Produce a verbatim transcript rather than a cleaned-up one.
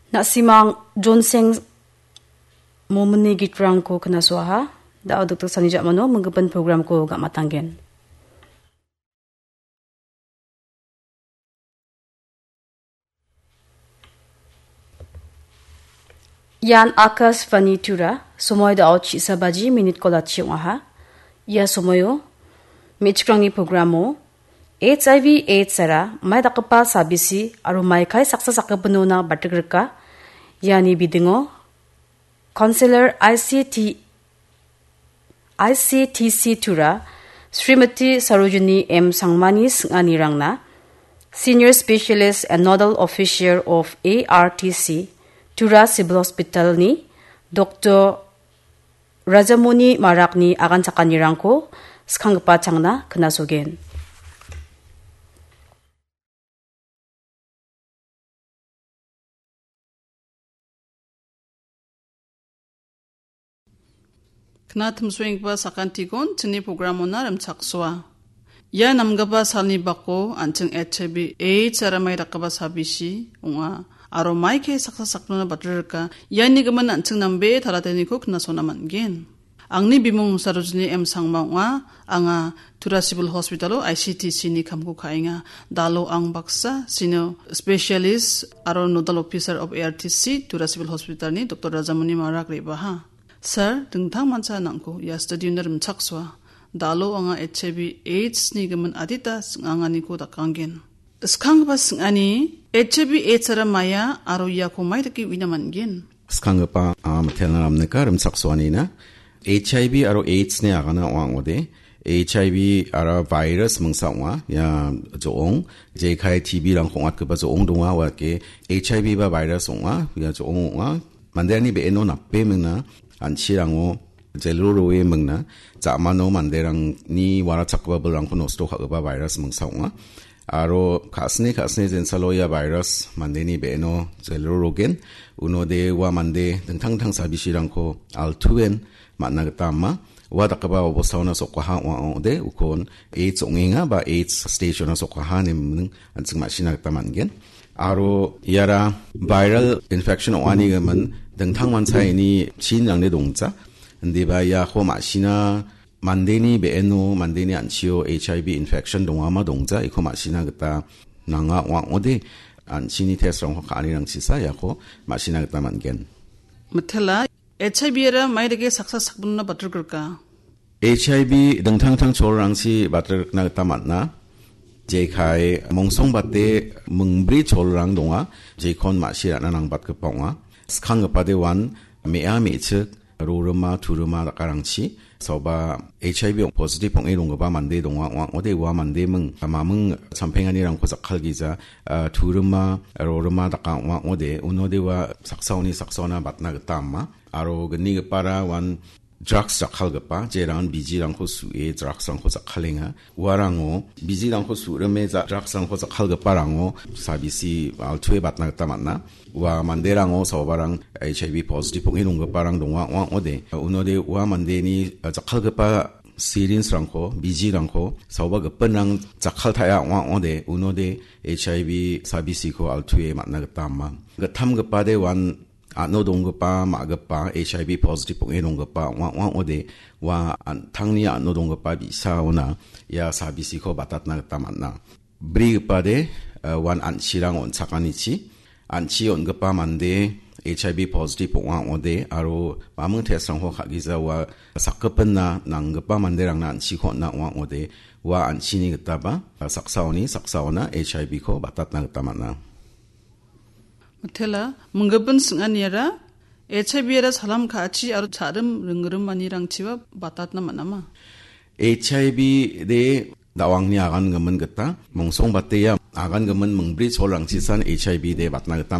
Na·simang Jonseng Momini gitrangko knasoaha. Da·o dokdok sani ja·mano minggipa programko ga·matanggen. Ian Akashvani Tura, somoi da·o chi·sa baji minit kolachi ong·aha. Ia somoio me·chikrangni programo H I V AIDS-ara mai dakgipa sabisi aro maikai saksa sakgipinona batrikrika. Iani bidingo Counselor I C T, I C T C Tura, Srimati Sarojini M Sangmani sing·anirangna, Senior Specialist and Nodal Officer of A R T C, Tura Civil Hospital-ni Doctor Rajamoni Marakni aganchakanirangko skanggipa changna knasogen. Knatimsoenggipa sakantikon chini programona rimchaksoa. Ia namgipa salni bako an·ching H I V AIDS-ara mai dakgipa sabisi ong·a. Aro maikai saksa sakgipinona batrika. Iani gimin an·ching nambe talateniko knasona man·gen. Angni bimung Sarojini M Sangma ong·a. Anga Tura Civil Hospital-o I C T C-ni kamko ka·enga. Da·o ang baksa Senior Specialist aro Nodal Officer of A R T C Tura Civil Hospital-ni Doctor Rajamoni Marak re·baha. Sir, dingtang mancha nangko ia studio-na rimchaksoa. Da·o anga H I V AIDS-ni gimin adita sing·anganiko dakanggen. Skanggipa sing·ani, H I V AIDS-ara maia aro iako mai dake uina man·gen? Skanggipa, a, mitelna ramnika rimchaksoanina. H I V aro AIDS-ni agana ong·a ong·ode. H I V-ara virus mingsa ong·a. Ia jo·ong, jekai T B-rangko ong·atgipa jo·ong donga, ua dake H I V-ba virus ong·a. Ia jo·ong ong·a. Manderangni be·eno nape mingna, an·chirango jelro roe mingna, ja·mano manderangni warachakgipa bilrangko nosto ka·gipa virus mingsa ong·a. Aro ka·sini ka·sini jensalo ia virus mandeni be·eno jelro rogen, unode ua mande dingtang dingtang sabisirangko altuen man·na gita ama. Ua dakgipa obostaona sokkaha ong·a ong·ode ukon AIDS ong·enga ba AIDS stage-ona sokkaha ine an·ching ma·sina gita man·gen. Aro iara viral infection ong·ani gimin dingtang manchaini chinrangde dongja. Indiba iako ma·sina mandeni be·eno, mandeni an·chio H I V infection dongama dongja, iko ma·sina gita nanga ong·a ong·ode an·chini test-rangko ka·anirangchisa iako ma·sina gita man·gen. Mitela, H I V-ara mai dake saksa sakgipinona batrikrika? H I V dingtang dingtang cholrangchi batrikna gita man·a. Jekai mongsongbate mingbri cholrang donga, jekon ma·si ra·na nangbatgipa ong·a. Skanggipade uan me·a me·chik, rorima, turima dakarangchi, saoba H I V positive ong·e donggipa mande donga ong·a ong·ode ua mande ming, maming champenganirangko jakkalgija, a, turima, rorima daka ong·a ong·ode, unode ua saksaoni saksaona batna gita ama. Aro gnigipara uan drugs jakkalgipa, jeran bijirangko su·e drugs-rangko jakkalenga. Uarango bijirangko su·rime ja-, drugs-rangko jakkalgiparango sabisi altue batna gita man·a. Ua manderango saobarang H I V positive ong·e donggiparang donga ong·a ong·ode. Unode ua mandeni, a, jakkalgipa syringe-rangko, bijirangko saoba gipinrang jakkaltaia ong·a ong·ode. Unode H I V sabisiko altue man·na gita ama. Gittamgipade uan a·no donggipa, ma·gipa, H I V positive ong·e donggipa ong·a ong·a ong·ode, ua an-, tangni a·no donggipa bi·saona ia sabisiko batatna gita man·a. Brigipade, eh, uan an·chirang on·chakanichi, an·chi on·gipa mande H I V positive ong·a ong·ode, aro maming test-rangko ka·gija ua sakgipinna nanggipa manderangna an·chiko on·a ong·a ong·ode, ua an·chini gitaba, eh, saksaoni saksaona H I V-ko batatna gita man·a. Mitela, minggipin sing·aniara H I V-ara salam ka·achi aro cha·rim ringrimanirangchiba batatna man·ama? H I V de da·o angni agangimin gita, mongsongbate ia agangimin mingbri cholrangchisan H I V de batna gita